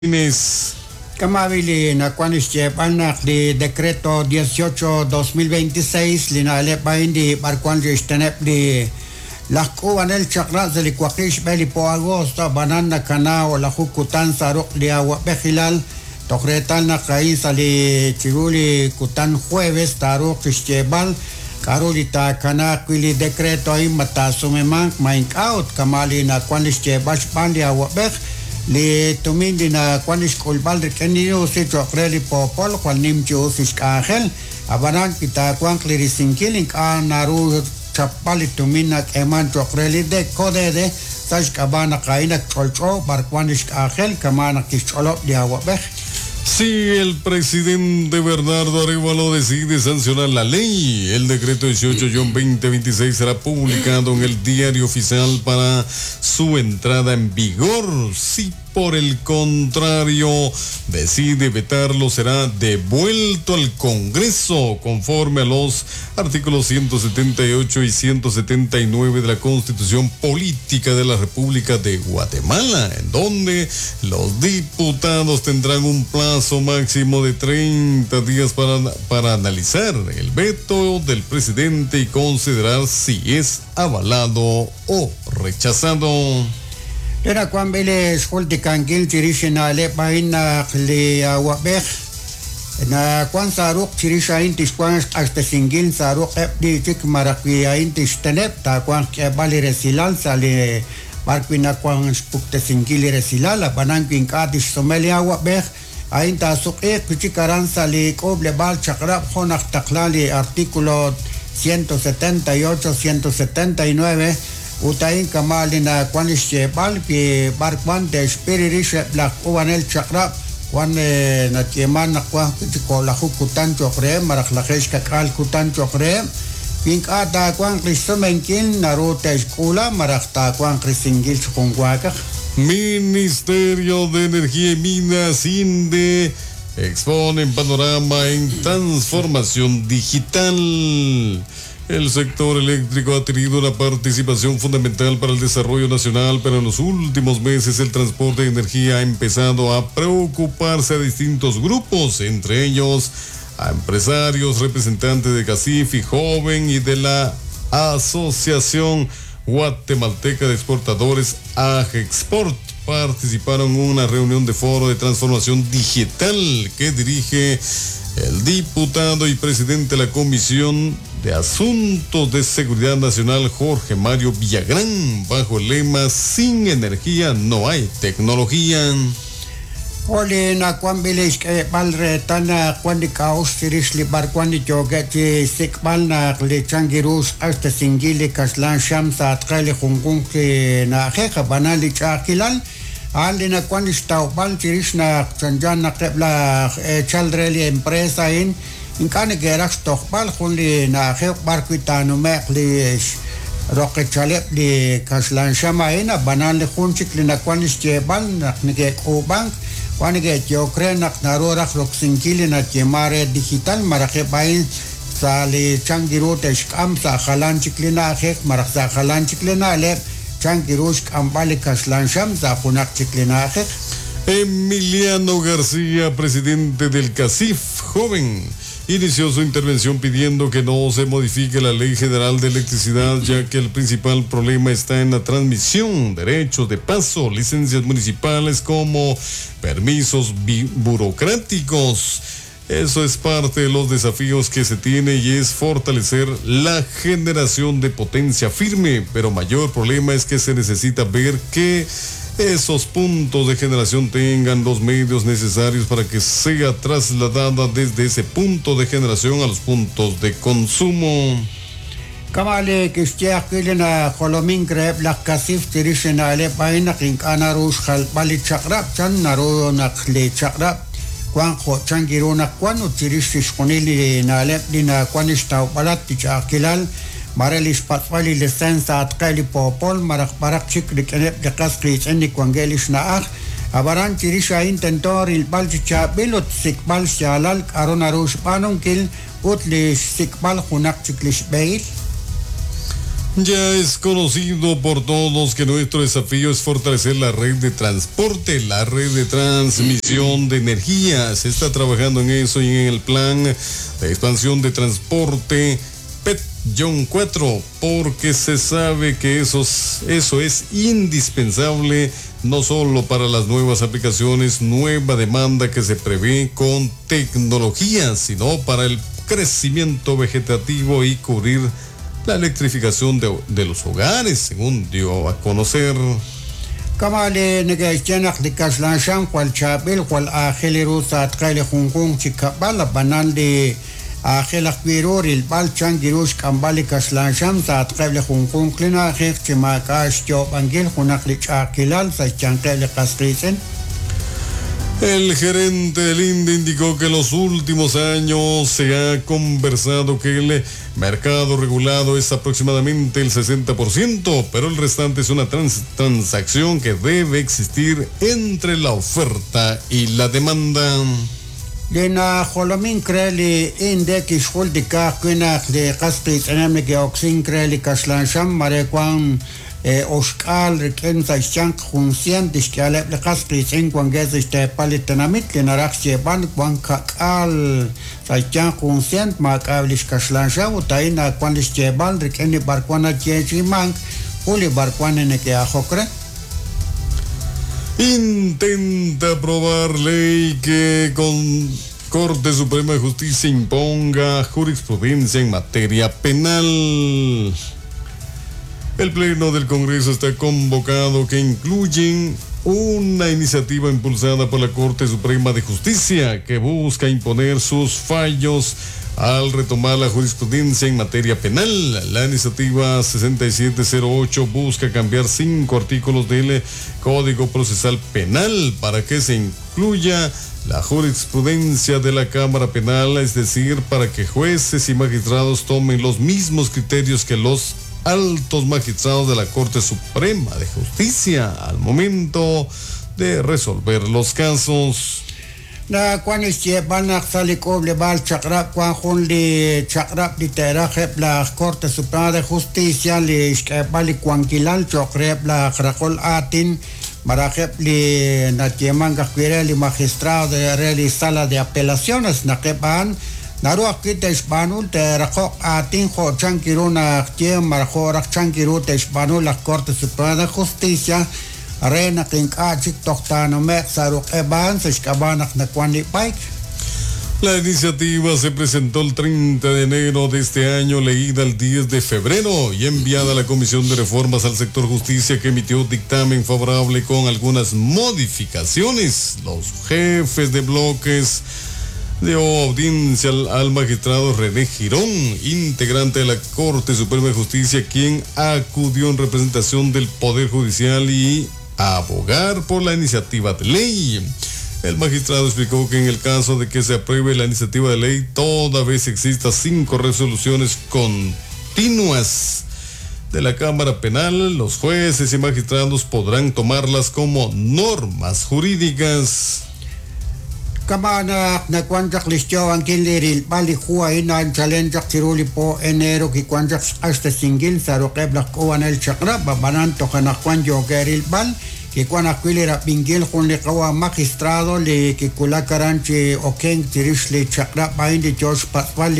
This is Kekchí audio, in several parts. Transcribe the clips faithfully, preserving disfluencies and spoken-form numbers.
Kama' li nawan xyeeb'al naq li decreto dieciocho dos mil veintiséis li na'leb' a'in li b'arwan xteneb' li laj k'uub'anel chaq'rab' sa' li waqib' xb'e li po agosto ab'anan nakana o'laju kutan sa' ruq' li awab'ejilal toj reetal naq a'in sa' li chiru li kutan jueves taaruuq xyeeb'al k'a'ru li taakanaaq wi' li decreto a'in ma taasumemanq ma ink'a' ut kama' li nawan li xyeeb'al xb'aan li awab'ej li tumin li nawan xk'ulb'al rik'in li usi cho'q re li poopol jwal nim chi us xk'anjel ab'anan wi taawanq li risinkil ink'a' naru chapb'al li tumin nak'eeman cho'q re li Codede sa' xk'ab'a' naq a'in ak ch'olch'o b'arwan li xk'anjel kama' naq kixch'olob' li awab'ej. Si el presidente Bernardo Arévalo decide sancionar la ley, el decreto dieciocho guion veinte veintiséis será publicado en el diario oficial para su entrada en vigor. Si por el contrario decide vetarlo, será devuelto al Congreso conforme a los artículos ciento setenta y ocho y ciento setenta y nueve de la Constitución Política de la República de Guatemala, en donde los diputados tendrán un plazo máximo de treinta días para, para analizar el veto del presidente y considerar si es avalado o rechazado. Era cuando les jultikankil chirix na'leb' a'in naq li awab'ej na kwan sa ruq chirix a'in tixwan xq'axtesinkil sa ruq eb' li chik maraq wi a'in tixteneb' taawanq k'eeb'al li resilal sa' li b'ar wi nawan xpuktesinkil li resilal ab'anan wi ink'a' tixsume li awab'ej a'in taasuq'iiq wi chik aran sa' li k'uub'leb'aal chaq'rab' jo' naq taqla li artículo ciento setenta y ocho, ciento setenta y nueve utayin kama' li nawan xyeeb'al wi b'arwan te'xpiri rix eb' laj k'uub'anel chaq'rab' wan nayeeman naq wan o'laju kutan cho'q reheb' malaj lajeeb' xkak'aal kutan cho'q reheb' wi ink'a' taawanq li xsumenkil naru te'xk'uula malaj taawanq risinkil chi junwaakaj. Ministerio de Energía y Minas, INDE, expone en panorama en transformación digital. El sector eléctrico ha tenido una participación fundamental para el desarrollo nacional, pero en los últimos meses el transporte de energía ha empezado a preocuparse a distintos grupos, entre ellos a empresarios, representantes de Casifi Joven y de la Asociación Guatemalteca de Exportadores, AGEXPORT. Participaron en una reunión de foro de transformación digital que dirige el diputado y presidente de la Comisión de Asuntos de Seguridad Nacional, Jorge Mario Villagrán, bajo el lema Sin energía no hay tecnología. Oli nawan bilix k'eeb'al reetal naq wan li k'a'uxl chirix li b'arwan li yookeb' chi sik'b'al naq li chankiru xq'axtesinkil li kaxlan xam sa' atqe li junjunq li na'ajej ab'anan li ch'a'ajkilal a'an li nawan li xtawb'al chirix naq chanchan naq eb' laj eechal re li empresa a'in ink'a' neke'raj xtojb'al jun li na'ajej b'ar wi' taanume'q li roqechaleb' li kaxlan xam a'in ab'anan li jun chik li nawan li xyeeb'al naq neke'k'uub'ank wan neke'yook re naq naru raj roksinkil li nayeema re digital malaj eb' a'in sa' li chankiru te'xk'am sa' jalan chik li na'ajej malaj sa' jalan chik li na'leb' chankiru xk'amb'al li kaxlan xam sa' junaq chik li na'ajej. Emiliano García, presidente del CACIF Joven, inició su intervención pidiendo que no se modifique la Ley General de Electricidad, ya que el principal problema está en la transmisión, derechos de paso, licencias municipales como permisos burocráticos. Eso es parte de los desafíos que se tiene y es fortalecer la generación de potencia firme, pero mayor problema es que se necesita ver que esos puntos de generación tengan los medios necesarios para que sea trasladada desde ese punto de generación a los puntos de consumo. Kamale kixye ajwi' li najolomink reheb' laj CACIF chirix li na'leb' a'in naq ink'a' naru xjalb'al li chaq'rab' chan naru naq li chaq'rab' wan jo' chankiru naq wan ut chirix chixjunil li na'leb' li nawan xtawb'alat li ch'a'ajkilal mare li xpatz'b'al li licencia atqe li poopol malaj b'araq chik rik'ineb' li qas qiitz'in li wankeb' li xna'aj ab'aran chirix a'in tento rilb'al chi chaab'il ut xsik'b'al xyaalal k'aru naru xb'aanunkil ut li xsik'b'al junaq chik li xb'ehil. Ya es conocido por todos que nuestro desafío es fortalecer la red de transporte, la red de transmisión de energía. Se está trabajando en eso y en el plan de expansión de transporte P E T cuatro, porque se sabe que eso, eso es indispensable no solo para las nuevas aplicaciones, nueva demanda que se prevé con tecnología, sino para el crecimiento vegetativo y cubrir la electrificación de, de los hogares, según dio a conocer. Kamale negechenak de Kaslansham, cual Chapel, cual Ángel Rusa, Tkele Junjun, Chicabala, Banal de Ángel Akbirur, el Balchan, Girush, Kambali, Kaslansham, Satkele Junjun, Klina, Chimakash, Job, Angel, Junaklich, Akilal, Sachankel, Castricen. El gerente del INDE indicó que en los últimos años se ha conversado que el mercado regulado es aproximadamente el sesenta por ciento, pero el restante es una trans- transacción que debe existir entre la oferta y la demanda. Lena Jolomin Kreli INDE Kishul de Kakuina de Castris Enemic Oxin Kreli Kaslansham Marecuan Oxkal riq'in sa' xyanq jun cien tixk'aleb' li qas qiitz'in wankeb' sa' xteepal li tenamit li naraj xyeeb'al wan kak'al sa' xyanq jun cien maak'ab' li xkaxlanxaw ut a'in nawan li xyeeb'al riq'in li b'arwan nayeechi'imank ut li b'arwan neke'ajok re. Intenta aprobar ley que con Corte Suprema de Justicia imponga jurisprudencia en materia penal. El Pleno del Congreso está convocado que incluyen una iniciativa impulsada por la Corte Suprema de Justicia que busca imponer sus fallos al retomar la jurisprudencia en materia penal. La iniciativa sesenta y siete cero ocho busca cambiar cinco artículos del Código Procesal Penal para que se incluya la jurisprudencia de la Cámara Penal, es decir, para que jueces y magistrados tomen los mismos criterios que los altos magistrados de la Corte Suprema de Justicia al momento de resolver los casos. La cual es que van a salir con le va al chakra, cuan jun li chakra li teraje la Corte Suprema de Justicia li xk'eb'al li cuanquilal chokreb la raqol atin marajeb li natieman gajwire li magistrado de re li sala de apelaciones naqeban naru ajwi' te'xb'aanu te'raqoq aatin jo' chan kiru naq ye marjo raj chan kiru te'xb'aanu la Corte Suprema de Justicia re naq ink'a' chik toj taanume'q sa' ruq'eb'an sa' xk'ab'a' naq nawan li b'ayk. La iniciativa se presentó el treinta de enero de este año, leída el diez de febrero y enviada a la Comisión de Reformas al Sector Justicia, que emitió dictamen favorable con algunas modificaciones. Los jefes de bloques dio audiencia al, al magistrado René Girón, integrante de la Corte Suprema de Justicia, quien acudió en representación del Poder Judicial y a abogar por la iniciativa de ley. El magistrado explicó que en el caso de que se apruebe la iniciativa de ley, toda vez exista cinco resoluciones continuas de la Cámara Penal, los jueces y magistrados podrán tomarlas como normas jurídicas. Kamana nakuanchak listio ankin liril bali jua ina challenge chiruli po enero ki kuanchak hasta singil saroqeb la kuan el chakra babanan tojana kuan yogeril bal ki kuan aquilera pingil jun li qawa magistrado li ki kulakaranchi oken chirish li chakra bain di George Pascual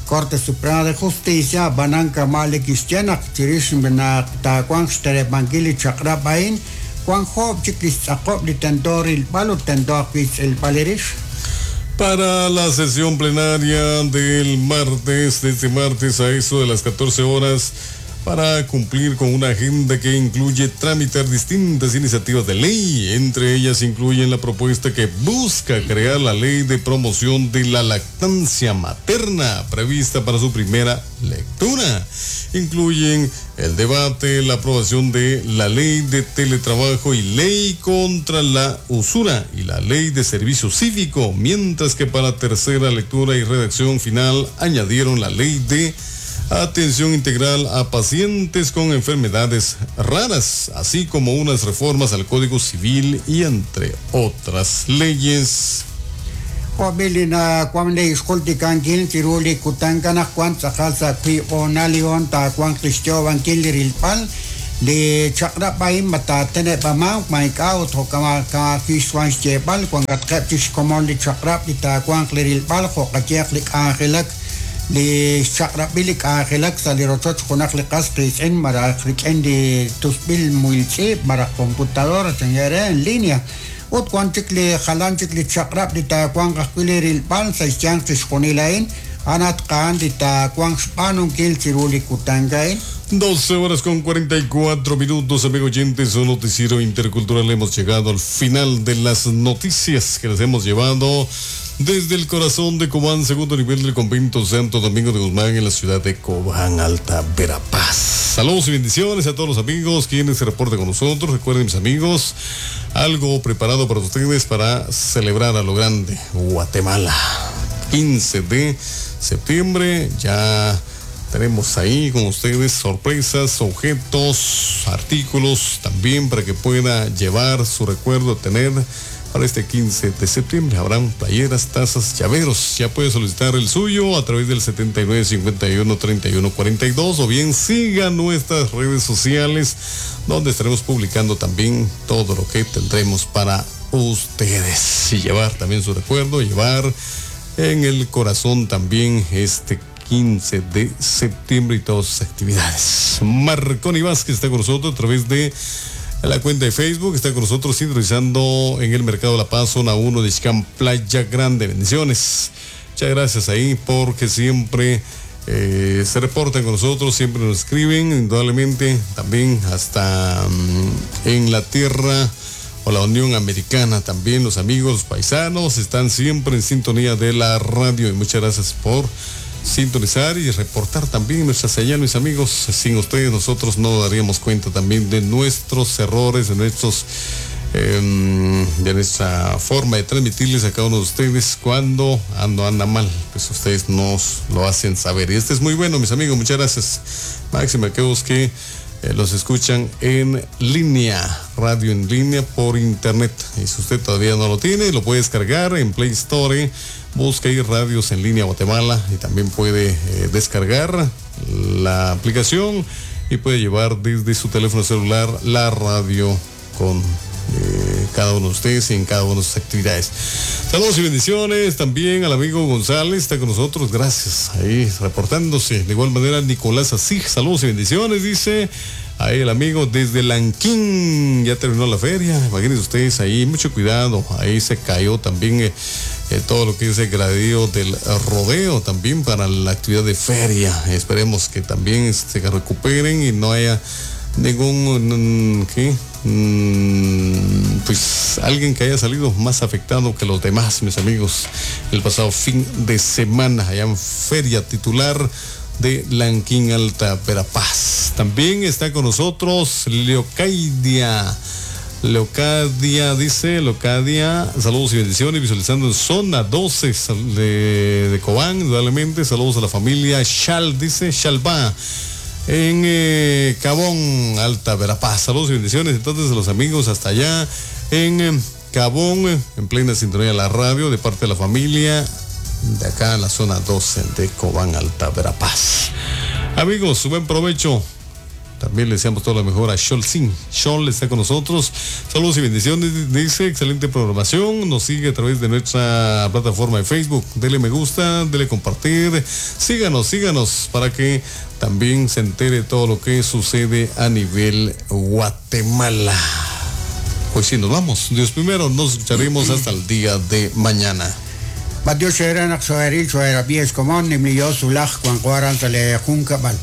Corte Suprema de Justicia banan kamale kistiana chirish bena ta kuan xtere bangili chakra bain Juan Job, Chiquis, Jacob, Litendor, el Palo, Tendor, el Valerish. Para la sesión plenaria del martes, de este martes a eso de las catorce horas, para cumplir con una agenda que incluye tramitar distintas iniciativas de ley. Entre ellas incluyen la propuesta que busca crear la ley de promoción de la lactancia materna, prevista para su primera lectura. Incluyen el debate, la aprobación de la ley de teletrabajo y ley contra la usura y la ley de servicio cívico, mientras que para tercera lectura y redacción final añadieron la ley de atención integral a pacientes con enfermedades raras, así como unas reformas al Código Civil y entre otras leyes. Jo'b'il wan li xjultikankil chiru li kutan kanaq wan tz'aqal sa' wiib' hoonal li hoon taawanq li xyoob'ankil li rilb'al li chaq'rab' a'in ma taateneb'amanq ma ink'a' ut jo'kan wan xyeeb'al wankatqeb' chik xkomon li chaq'rab' li taawanq li rilb'al jo' qayehaq li k'anjelak li xchaq'rab'il li k'anjelak sa' li rochoch junaq li qas qiitz'in malaj rik'in li tusb'il muhil tz'iib' malaj computadora chan en línea ut wan chik li jalan chik li chaq'rab' li taawanq ajwi' li rilb'al sa' xyanq chixjunil a'in anat qa'an li taawanq xb'aanunkil chiru li kutan a'in. doce horas con cuarenta y cuatro minutos, amigos oyentes, un noticiero intercultural. Hemos llegado al final de las noticias que les hemos llevado desde el corazón de Cobán, segundo nivel del convento Santo Domingo de Guzmán en la ciudad de Cobán, Alta Verapaz. Saludos y bendiciones a todos los amigos quienes se reportan con nosotros. Recuerden, mis amigos, algo preparado para ustedes para celebrar a lo grande Guatemala. quince de septiembre, ya tenemos ahí con ustedes sorpresas, objetos, artículos también para que pueda llevar su recuerdo, tener para este quince de septiembre. Habrán playeras, tazas, llaveros. Ya puede solicitar el suyo a través del setenta y nueve, cincuenta y uno, treinta y uno, cuarenta y dos, o bien siga nuestras redes sociales donde estaremos publicando también todo lo que tendremos para ustedes. Y llevar también su recuerdo, llevar en el corazón también este quince de septiembre y todas sus actividades. Marconi Vázquez está con nosotros a través de la cuenta de Facebook, está con nosotros sintonizando en el Mercado La Paz, zona uno de Ixcán, Playa Grande. Bendiciones. Muchas gracias ahí porque siempre, eh, se reportan con nosotros, siempre nos escriben, indudablemente también hasta, mm, en la tierra o la Unión Americana también los amigos, los paisanos están siempre en sintonía de la radio y muchas gracias por sintonizar y reportar también nuestra señal, mis amigos. Sin ustedes nosotros no daríamos cuenta también de nuestros errores, de nuestros, em, de nuestra forma de transmitirles a cada uno de ustedes cuando ando, anda mal, pues ustedes nos lo hacen saber. Y este es muy bueno, mis amigos, muchas gracias. Máxima aquellos que, eh, los escuchan en línea, radio en línea por internet. Y si usted todavía no lo tiene, lo puede descargar en Play Store. Busca ahí Radios en Línea Guatemala y también puede, eh, descargar la aplicación y puede llevar desde su teléfono celular la radio con, eh, cada uno de ustedes y en cada una de sus actividades. Saludos y bendiciones también al amigo González, está con nosotros, gracias, ahí reportándose. De igual manera Nicolás Asig, saludos y bendiciones, dice ahí el amigo desde Lanquín, ya terminó la feria, imagínense ustedes ahí, mucho cuidado, ahí se cayó también, eh, eh, todo lo que es el gradío del rodeo también para la actividad de feria. Esperemos que también se recuperen y no haya ningún, mm, ¿qué? Mm, pues alguien que haya salido más afectado que los demás, mis amigos, el pasado fin de semana allá en Feria Titular de Lanquín, Alta Verapaz. También está con nosotros Leocadia. Leocadia dice, Leocadia, saludos y bendiciones, visualizando en zona doce de, de Cobán, indudablemente, saludos a la familia Chal, dice Chalba, en, eh, Cabón, Alta Verapaz. Saludos y bendiciones entonces a los amigos hasta allá en, eh, Cabón, en plena sintonía de la radio, de parte de la familia de acá en la zona doce de Cobán, Alta Verapaz. Amigos, buen provecho. También le deseamos todo lo mejor a Xol Sin. Xol está con nosotros. Saludos y bendiciones, dice, excelente programación. Nos sigue a través de nuestra plataforma de Facebook. Dele me gusta, dele compartir. Síganos, síganos para que también se entere todo lo que sucede a nivel Guatemala. Hoy sí nos vamos. Dios primero, nos escucharemos hasta el día de mañana. Adiós, era Xoeril, Xoera, Bies, Comón, Nimlio, Sulaj, Juan Juaran, Sale, Junca, Val.